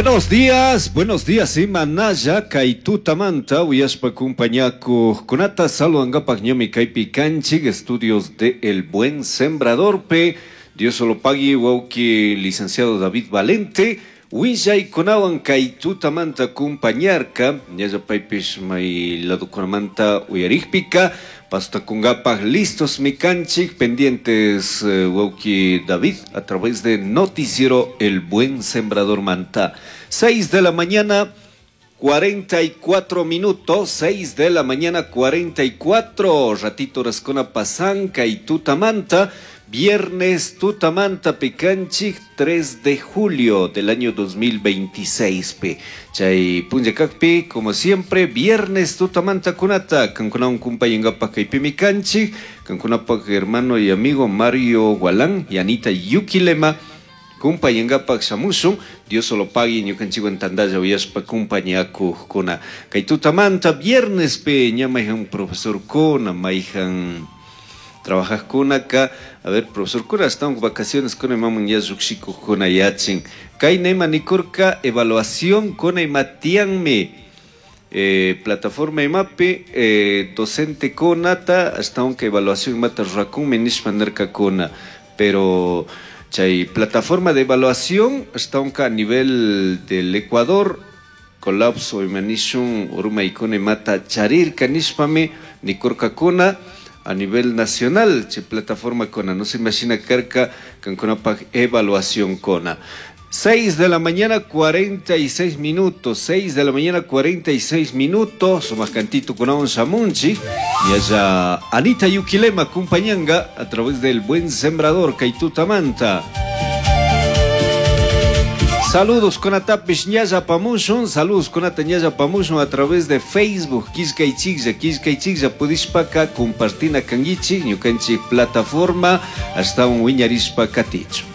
Buenos días, imanalla kay tutamanta uyashpa kumpañakuqkunata saludangapak ñami kaypi kanchik estudios de El Buen Sembrador pe Dios lo pague wawki licenciado David Valente willaykunawan kay tutamanta kumpañarka ñalla paypish may ladokunamanta uyarikpika pastakungapak listos mi kanchik pendientes wawki David a través de Noticiero El Buen Sembrador Manta. 6 de la mañana 44 minutos, 6 de la mañana 44, ratito rascona pasanca y tutamanta, viernes tutamanta picanchik 3 de julio del año 2026 pe. Chay punllakakpi, como siempre, viernes tutamanta kunata, kankunawan kumpayangapaj kaypimi kanchik, kankunapak hermano y amigo Mario Gualán y Anita Yuquilema, kumpayangapak shamushun, Dios lo pague ñukanchikwan tantalla uyashpa kumpañakuqkuna. Kay tutamanta viernes pe ña mayhan profesor kuna, mayhan trabajaqkunaka, a ver, profesor kuna, estamos vacaciones kuna imaman ya lluqshikuqkuna yachin. Kay nema nikurka evaluación kuna ima tiyanmi. Plataforma imapi docente kunata ashtawanka evaluación imata rurakunmi nishpa nirkakuna, pero chay plataforma de evaluación ashtawanka a nivel del Ecuador colapso ima nishun urmaykuna imata charirka nishpami nikurkakuna a nivel nacional chay plataforma kuna no se imagina karka kankunapak evaluación kuna. 6 de la mañana 46 minutos, 6 de la mañana 46 minutos, sumaq cantito kunawan shamunchik, y allá Anita Yuquilema acompañanga a través del Buen Sembrador Kaitutamanta. Saludos con Atapish ñalla pamushun, saludos con Atañalla pamushun a través de Facebook, Quillkaychiklla, Quillkaychiklla, pudishpaka compartina kanguichik, ñukanchik plataforma, hasta un wiñarishpa katichu.